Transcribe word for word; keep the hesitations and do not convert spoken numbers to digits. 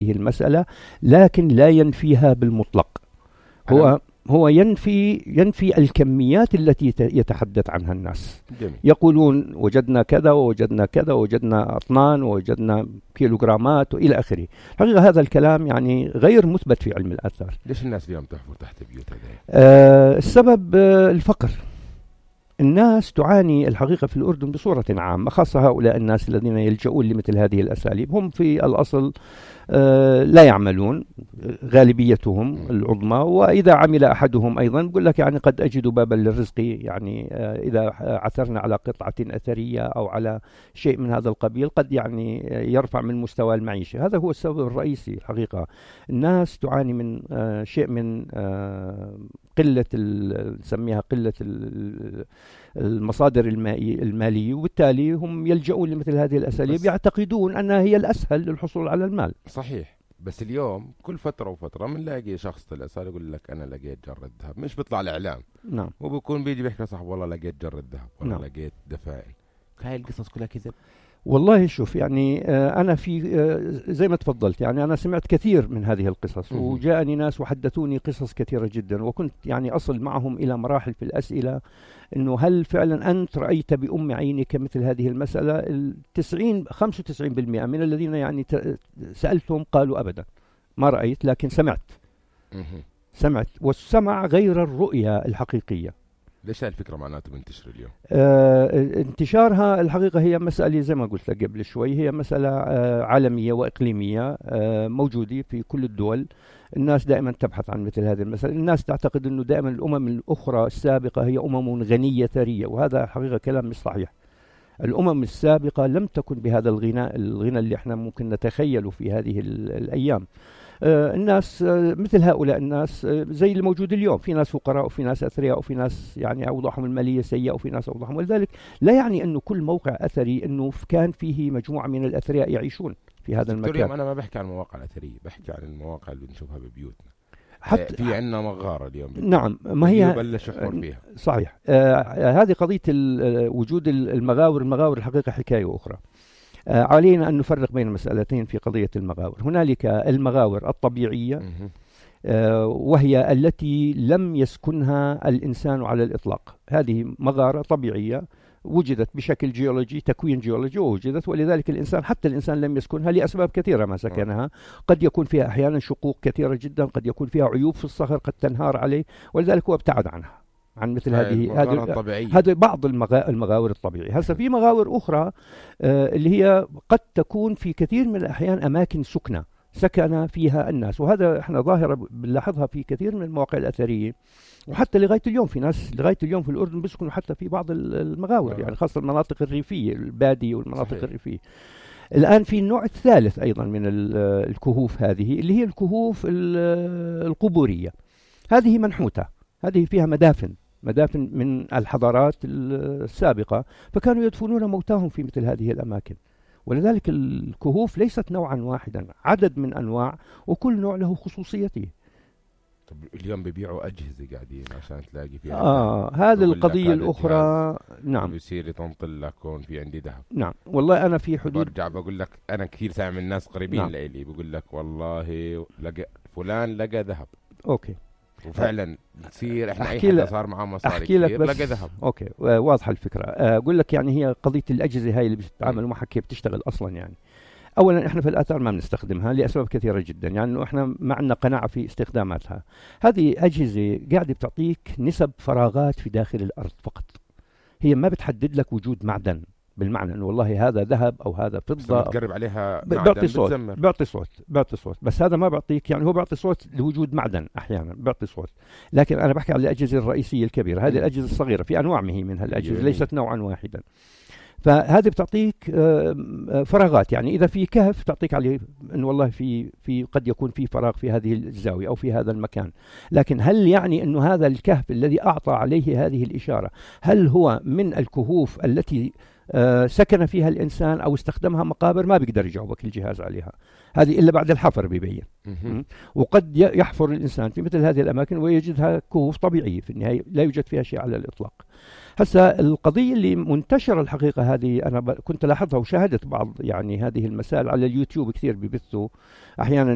المسألة، لكن لا ينفيها بالمطلق. هو هو ينفي ينفي الكميات التي يتحدث عنها الناس. جميل. يقولون وجدنا كذا ووجدنا كذا ووجدنا أطنان ووجدنا كيلوغرامات وإلى آخره. حقيقة هذا الكلام يعني غير مثبت في علم الآثار. ليش الناس اليوم تحفر تحت بيوتها؟ آه السبب آه الفقر. الناس تعاني الحقيقة في الأردن بصورة عامة، خاصة هؤلاء الناس الذين يلجؤون لمثل هذه الأساليب. هم في الأصل آه لا يعملون، غالبيتهم العظمى، وإذا عمل أحدهم أيضا يقول لك يعني قد أجد بابا للرزق، يعني آه إذا عثرنا على قطعة أثرية أو على شيء من هذا القبيل قد يعني يرفع من مستوى المعيشة. هذا هو السبب الرئيسي الحقيقة. الناس تعاني من آه شيء من آه قلة نسميها قلة المصادر المالية، وبالتالي هم يلجؤون لمثل هذه الأساليب، يعتقدون أنها هي الأسهل للحصول على المال. صحيح. بس اليوم كل فترة وفترة بنلاقي شخص طلع صار يقول لك أنا لقيت جرة ذهب، مش بيطلع الإعلام. نعم. وبيكون بيجي بيحكي صاحب والله لقيت جرة ذهب، والله نعم. لقيت دفائل. هاي القصص كلها كذب. والله شوف يعني آه أنا في آه زي ما تفضلت، يعني أنا سمعت كثير من هذه القصص، مم. وجاءني ناس وحدثوني قصص كثيرة جدا، وكنت يعني أصل معهم إلى مراحل في الأسئلة إنه هل فعلا أنت رأيت بأم عينك مثل هذه المسألة؟ التسعين خمسة وتسعين بالمئة من الذين يعني سألتهم قالوا أبدا ما رأيت، لكن سمعت. مم. سمعت، والسمع غير الرؤية الحقيقية. ليش هالفكرة معناته بنتشر اليوم؟ آه انتشارها الحقيقة هي مسألة زي ما قلت لك قبل شوي، هي مسألة آه عالمية وإقليمية، آه موجودة في كل الدول. الناس دائما تبحث عن مثل هذه المسألة. الناس تعتقد أنه دائما الأمم الأخرى السابقة هي أمم غنية ثرية، وهذا حقيقة كلام مش صحيح. الأمم السابقة لم تكن بهذا الغنى الغنى اللي احنا ممكن نتخيله في هذه الأيام. آه الناس آه مثل هؤلاء الناس آه زي الموجود اليوم، في ناس فقراء وفي ناس أثرياء وفي ناس يعني أوضاعهم المالية سيئة وفي ناس أوضاعهم، ولذلك لا يعني أنه كل موقع أثري أنه كان فيه مجموعة من الأثرياء يعيشون في هذا المكان. أنا ما بحكي عن المواقع الأثرية، بحكي عن المواقع اللي بنشوفها ببيوتنا. حتى في عندنا مغارة اليوم. نعم، ما هي بلش يحفر فيها. صحيح. آه هذه قضية وجود المغاور. المغاور الحقيقة حكاية أخرى. آه علينا أن نفرق بين مسألتين في قضية المغاور. هنالك المغاور الطبيعية آه وهي التي لم يسكنها الإنسان على الإطلاق. هذه مغارة طبيعية وجدت بشكل جيولوجي، تكوين جيولوجي، ووجدت، ولذلك الإنسان حتى الإنسان لم يسكنها لأسباب كثيرة ما سكنها. قد يكون فيها أحيانا شقوق كثيرة جدا، قد يكون فيها عيوب في الصخر قد تنهار عليه، ولذلك هو ابتعد عنها عن مثل هذه هذه هذا بعض المغا... المغاور الطبيعية. هسه في مغاور أخرى آه اللي هي قد تكون في كثير من الأحيان أماكن سكنة سكن فيها الناس، وهذا احنا ظاهرة بنلاحظها في كثير من المواقع الأثرية، وحتى لغاية اليوم في ناس لغاية اليوم في الأردن بيسكنوا حتى في بعض المغاور، يعني خاصة المناطق الريفية، البادية والمناطق صحيح. الريفية. الآن في النوع الثالث أيضا من الكهوف هذه اللي هي الكهوف القبورية. هذه منحوتة، هذه فيها مدافن مدافن من الحضارات السابقة، فكانوا يدفنون موتاهم في مثل هذه الأماكن. ولذلك الكهوف ليست نوعا واحدا، عدد من أنواع، وكل نوع له خصوصيته. طب اليوم بيبيعوا أجهزة قاعدين عشان تلاقي فيها آه هذه القضية الأخرى. نعم. بيصير يطنطل لك كون في عندي ذهب. نعم والله أنا في حدود برجع بقول لك أنا كثير سامع من الناس قريبين نعم. لإلي بقول لك والله لقى فلان لقى ذهب. أوكي. وفعلا تصير احنا اي حدا صار معاه مصاري كثير لقى ذهب. اوكي واضحه الفكره. اقول لك يعني هي قضيه الاجهزه هاي اللي بتتعامل معها كيف بتشتغل اصلا. يعني اولا احنا في الاثار ما بنستخدمها لاسباب كثيره جدا، يعني انه احنا ما عندنا قناعه في استخداماتها. هذه اجهزه قاعده بتعطيك نسب فراغات في داخل الارض فقط، هي ما بتحدد لك وجود معدن بالمعنى انه والله هذا ذهب او هذا فضه. بتقرب عليها بيعطي صوت بيعطي صوت بيعطي صوت بس هذا ما بيعطيك، يعني هو بيعطي صوت لوجود معدن احيانا بيعطي صوت، لكن انا بحكي عن الاجهزه الرئيسيه الكبيره. هذه الاجهزه الصغيره في انواع من هالاجهزه ليست نوعا واحدا، فهذه بتعطيك فراغات. يعني اذا في كهف تعطيك عليه انه والله في في قد يكون في فراغ في هذه الزاويه او في هذا المكان، لكن هل يعني انه هذا الكهف الذي اعطى عليه هذه الاشاره هل هو من الكهوف التي آه سكن فيها الإنسان أو استخدمها مقابر؟ ما بيقدر يجاوبك الجهاز عليها، هذه إلا بعد الحفر بيبين. وقد يحفر الإنسان في مثل هذه الأماكن ويجدها كهوف طبيعية في النهاية لا يوجد فيها شيء على الإطلاق. هسه القضية اللي منتشرة الحقيقة هذه أنا كنت لاحظها وشاهدت بعض يعني هذه المسائل على اليوتيوب كثير بيبثوا أحيانا